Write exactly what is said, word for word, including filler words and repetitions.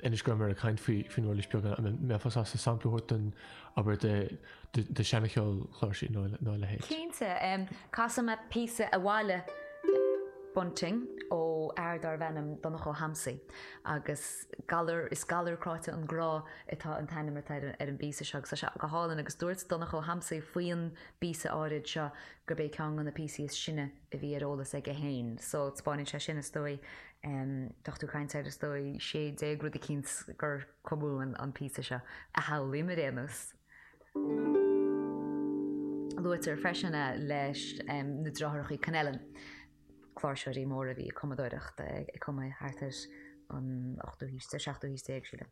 Anois go raibh ag caint faoi faoin uirlis beag an mbeifeá sásta sampla a thabhairt dúinn abair de de seancheol chláirsí nó nó a leithéid. Cinnte, casfaidh mé píosa Abhaile Bunting ó fhear darbh ainm Donncha Ó hAmsaigh agus galar is galar cráite an grá atá an t-ainm atá ar an bpíosa seo agus tá sé go hálainn agus dúirt Donncha Ó hAmsaigh faoin bpíosa áirid seo gurb é ceann de na píosaí is sine a bhí ar eolas aige féin so taispeánann sé sin is dóigh tá tú ag caint ar is dóigh sé déag rud eicínt gur cumadh an píosa seo a shamhlaím ar aon nós. Luaitear freisin é leis na deartháireacha Connellan, cláirseoirí móra a bhí ag cumadóireacht, ag cumadh thart ar an ochtú haois, seachtú haois déag sílim.